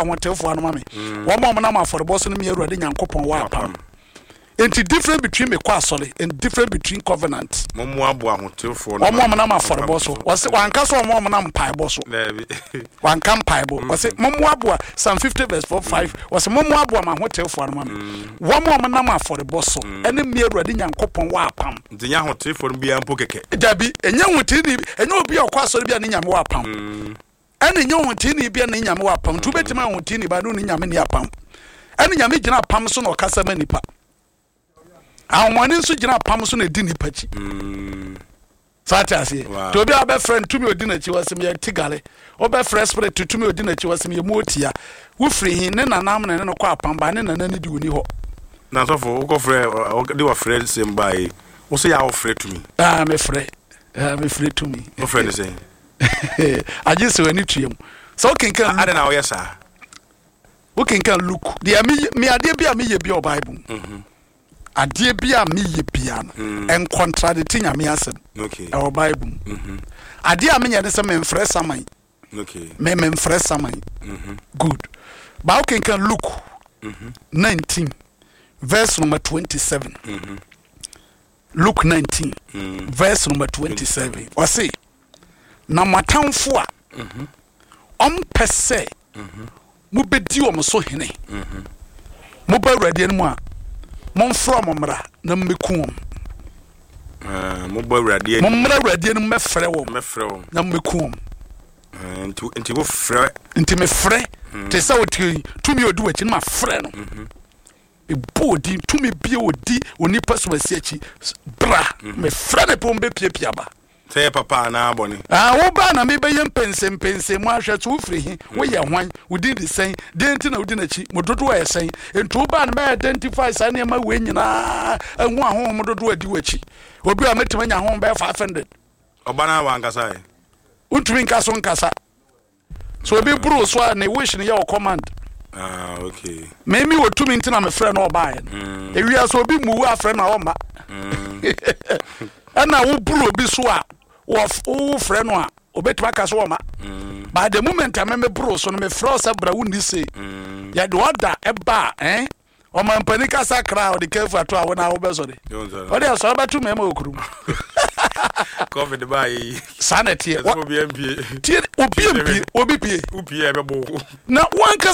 ahotefoɔ ano ma me. Wɔn a wɔnam afɔrebɔ so no me Awurade Nyankopɔn wɔ apam. Nti difference between mekɔ asɔre and difference between covenant. Mommoaboa ahotefoɔ no Wɔn a wɔnam afɔrebɔ so. Wɔse wanka sɛ wɔn a wɔnam mpaebɔ so. Daabi. Wanka mpaebɔ. Wɔse mommoaboa Psalm 50 verse 4 5. Wɔse mommoaboa m'ahotefoɔ ano ma me. Wɔn a wɔnam afɔrebɔ so ɛne me Awurade Nyankopɔn wɔ apam. Nti nyɛ ahotefoɔ no biara mpo kɛkɛ. Dabi, ɛnyɛ hoteni, ɛnyɛ obi a ɔkɔ asɔre bi a ne Nyame wɔ apam. Ɛna ɛnyɛ ɔhoteeni bi a ne Nyame wɔ apam. Nti wobɛtumi ayɛ ɔhoteeni ba ne ne Nyame ni apam. Ɛna Nyame gyina apam so na ɔkasa ma nipa. Ahomɔne nso gyina apam so na ɛdi nipa akyi. Saa te aseɛ. Nti obi a wobɛfrɛ no tumi ɔdi n'akyi wɔ sɛ meyɛ tigale. Wobɛfrɛ spirit tumi ɔdi n'akyi wɔ sɛ meyɛ mu otia. Wofiri he ne nanam na ne no kɔ apam ba ne nana ne di ɔni hɔ. Na sɔfo wokɔfrɛ de wɔfrɛ nsɛm baa yi wo sɛ yɛ a wofrɛ tumi. Ah, mefrɛ. Ah, mefrɛ tumi. Wofrɛ ne sɛn? Agye sɛ w'ani tua mu. Sɛ wokenkan Luke. Adɛn na woyɛ saa? Wokenkan Luke. Deɛ me me adeɛ bi a meyɛ bi wɔ Bible mu. Mhm. Adeɛ bi a meyɛ bia no, mm. ɛnkɔntradete Nyame asɛm. Ɛwɔ Bible mu. Mhm. Adeɛ a menyɛ ne sɛ memfrɛ saman. Me memfrɛ saman. Mhm. Good. Ba wokenkan Luke 19 verse number 27. Luke 19 verse number 27 ɔse na mo atamfo a ɔmpɛ sɛ mobɛdi wɔn so hene moba Awurade anim a momfrɛ wɔn mmra na mmɛku wɔn. Ah, mobɔ Awurade anim. Mommra Awurade anim mɛfrɛ wɔn na mmɛku wɔn. Ah, nti wofrɛ. Nti mefrɛ te sɛ wote tumi odi w'akyi no mafrɛ no. Mm-hmm. Mebɔ wo din, tumi bi a ɔdi onipa sumasi akyi, bra, mefrɛ ne pon bɛpiapia ba. Sɛ yɛ papa anaa bɔne. Ah, wo ba na mebɛyɛ mpɛnsɛmpɛnsɛmu ahwɛ so wofiri he, woyɛ hwan, wo din de sɛn, deɛn nti na wodi n'akyi, mo dodoɔ yɛ sɛn. Nti wo ba no mɛ identify saa nneɛma wei nyinaa ahu ahonhom dodoɔ adi w'akyi. Obi a mɛtumi anya honhom bɛyɛ 500. Ɔba no a wankasa ɛ. Wontumi nka so nkasa. So obi boro so a ne wish no yɛ wɔ command. Ah, okay. Me me wɔ tumi nti na me frɛ no ɔbaeɛ no. Mm. Ewia so obi mu afrɛ no a ɔmma. Mm. Ɛna wo boro obi so a wo frɛ no a obetumi aka so ɔma. Mm. But the moment a me me boro so no me frɛ sɛ bra wo ni se. Mm. Yɛde ɔda ɛba eh. Ɔmampanin kasa kra a ɔde kɛfu ato a wo na wobɛsɔre. Ɔde asɔre bɛto mmarima wɔ kurom. Covid baa yi. Saa na ɛteɛ. Obi mpie. Tie obi mpie obi pie. Wopie ɛbɛbɔ. Na wankasa.